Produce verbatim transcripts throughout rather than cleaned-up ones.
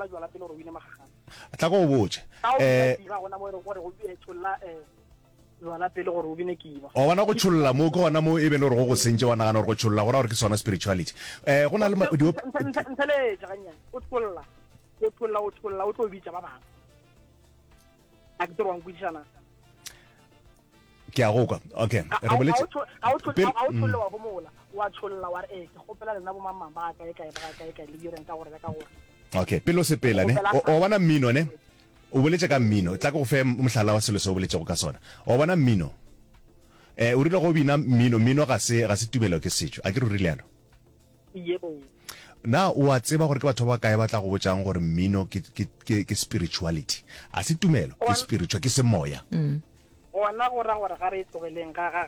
tšholla jwala pele gore o bine magagane. Tla ko go botše. Ga o Eh, bina kiba gona mo e reng gore go eh, tšholla eh, jwala pele gore o bine kiba. Wa bona go tšholla mo ke gona mo e be le gore go go sentše wa nagana gore go tšholla go ra gore ke sona spirituality. Eh go na le ma- di Ntheletše gannyane. O tšholla. O tšholla o tšholla o tlo bitša ba bangwe. A ke tsere wa nkwešiša na? Ke a go kwa. Okay, Ga re ga o boletše tšho- ga o tšho- pele ga o mm. tšholle wa homola. Wa tšholla wa re eh ke kgopela lena bo mang ba kae kae ba kae kae le direng ka gore le ka gore. Okay, pele o sepela ne. Kgopela O o bona mmino ne? O boletše ka mmino. Tla ke go fe mohlala wa selo se o boletšego ka sona. O bona mmino. Eh o rile go bina mmino, mmino ga se ga se tumelo ke setšo. A ke re o rile yalo? Yebo. Na o a tseba gore ke batho ba bakae ba tla go botšang gore mmino ke ke ke ke spirituality? A se tumelo, ke Gona spiritual, ke semoya. gona go ra gore ga re e tlogeleng ga ga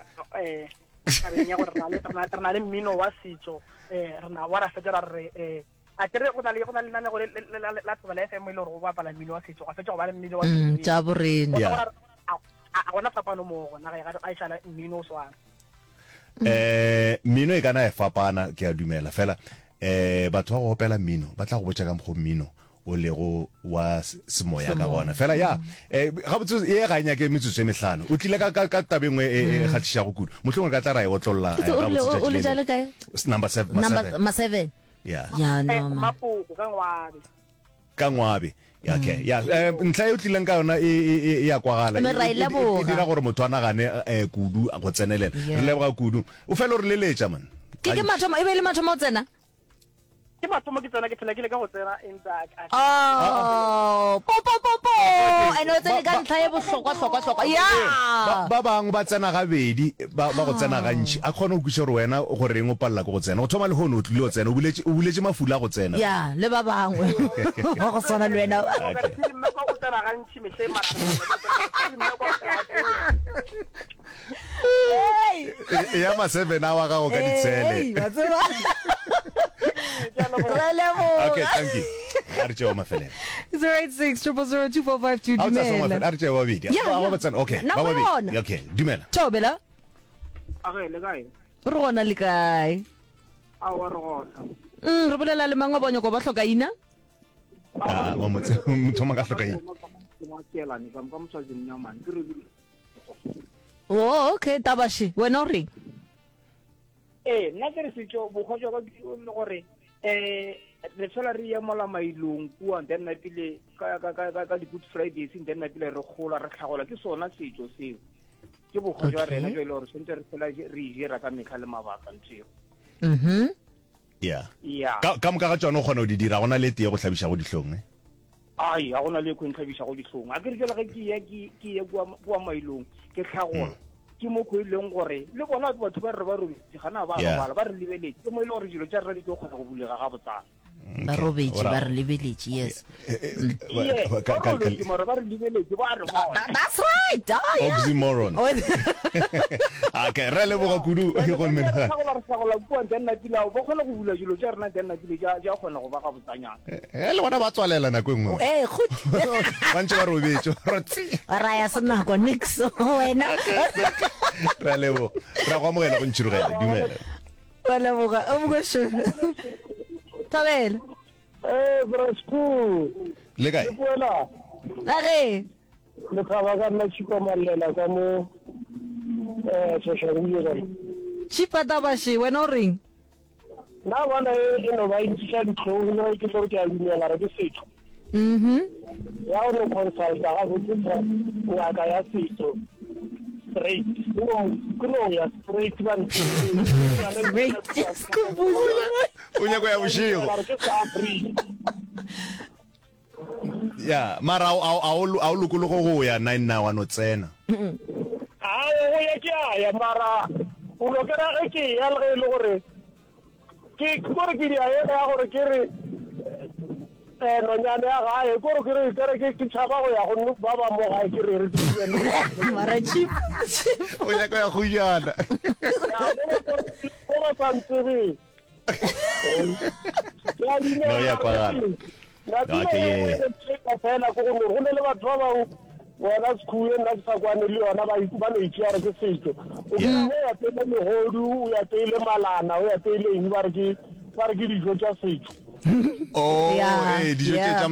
eh tabeng ya gore re na le re na re na le mmino wa setšo eh re na wa ra fetša ra re eh a kere go na le go na le lenanego le le la la Thobela F M e le gore go bapala mmino wa setšo gwa fetša go ba le mmino wa Mm, sedumedi. tša borena. Gona Yeah. go ra a a gona fapano moo gona ga ga e šala mmino o swana. Eh mmino e kana e fapana ke a dumela fela eh batho ba go opela mmino ba tla go botša ka mokgo mmino o lego wa s- semoya ka gona fela ya eh gabotse ye ga e nyake metsotso e mehlano o tlile ka ka ka tabeng e e kgahlišago kudu mohlomongwe re ka tla ra e otlolla Ke eh, tse o rile gabotse o o tšatši le le tša lengwe le kae? S- number seven ma Number seven ma seven. yeah Ya Eh no man. Mapoko ka Ngwabe. ka Ngwabe Ya, okay ya eh, ntlha e o tlileng ka yona e e e e ya kwagala Mme e ra e e- e- e leboga. dira gore motho a nagane eh, kudu go tsenelela re Yeah. leboga kudu o fela o re leletša man Ke ke Gantši. mathomo e be e le mathomo o tsena? Ke mathomo ke tsena ke phela ke le ka go tsena empa a Oh, po po po po. Okay, Ene o tsene ba ka ba ntlha e bohlokwa hlokwa hlokwa. ee, ba Ya. ba bangwe ba tsena gabedi ba ba go tsena gantši a kgone go kwešiša gore wena goreng o palela ke go tsena go thoma lehono o tlile o tsena o buletše o buletše mafula a go tsena Ya, le ba bangwe ba go swana le wena. okay Ke mme kwa o tsena gantši mehleng mara ke mme kwa o tsena Hey. E- ya ma seven a wa gago ka ditshele Hey, wa tseba. Ke a leboga. Re leboga. okay thank you a re tšeo mafelelo Zero eight six triple zero two four five two. a o tsaya sengwe Dumela. mafelo a re tšeo babedi Ya, ba ya. ba tsena okay ba Nako babedi yona. okay dumela Thobela. Age le kae? Re gona le kae? Aowa re gona. Mm, re bolela le mang wa bonyoko ba hloka ina? ah wa motse motho ma ka hloka eng Ke ka mo mosadi mnyamane ke re Oh, okay, tabashi. Wena o reng? ee nna ke re setšo bokgwa jwa ka ke le gore um re fela re ya mola mailong kua then napile ka ka ka ka- ka di-good fridays then napile re gola re tlhagola ke sona setšo seo ke bokgwa jwa Okay. rena jo e le gore tshwanetse re fela re e jera ka metlha le mabaka ntho eo Mhm. yeah ya ka ka moka ga tšona o kgona go di dira gona le tee go hlabišago dihlong eh ai ga gona le e kgontlhabiša go dihlong a ke re jale ge ke ya ke ke ya kua kua mailong ke tlhagola ke mo ko e leng gore le bona batho ba re ba robetse gana ba Yeah. robala ba re lebeletse ke mo e le gore dilo tša rena di tlo kgona go bulega ga botsana Ba okay robetše ora ba re lebeletše, yes. Ye, ka ba ka ka robetse mara ba re lebeletse ba re bona That, that's right. Oh, yeah. oxymoron Oh, okay re leboga kudu go re menagane tlhagola re tlhagola kua then napile ao ba kgona go bula dilo tša rena then napile tša kgona go ba ga botsanyana eh le bona ba tswalela nako e nngwe Eh, goed. ba ntse ba robetse re tsi Ra ya senako nix wena. re a leboga re a go amogela go ntšhirogela dumela Wa leboga. O mokosho. Thobela. Eh, Brasco, le kae wena Age. le thaba ka nna Chipa Mallela ka mo eh Soshanguve ka mo. Chipa tabashi, wena o reng? Nna bona e e no ba e ntšiša dihlong le ge ke tlo re ke a dumela re ke setho. Mhm. Ya o no consulta gabotse ngaka ya setso straight. Ke no ke no ya straight ba Straight. o nyako ya bošego Re ke sa Afrika. ya mara a o- a o a o lokologe go ya nine nna wa no tsena Ao go ya ke a ya mara o no kera ge ke ya le ge e le gore ke kore ke dia ela ya gore ke re eh nonyane ya gae kore ke re ke re ke ke tšhaba go ya go nno ba ba mo gae ke re re ke Mara Chipa. o nyako ya gojana ko ba sa ntsebeng Ke a dumela No, ya kwagala. Nako Okay, e yeah. nngwe fela ke gore go ne le batho ba bangwe wena sekhuwe nna ke sa kwane le yona ba ba no itšea gore ke setšo o Yeah. o apeile megodu o apeile malana o apeile eng ba re ke ba re ke dijo tša setšo oh Yeah, eh dijo tše yeah. tša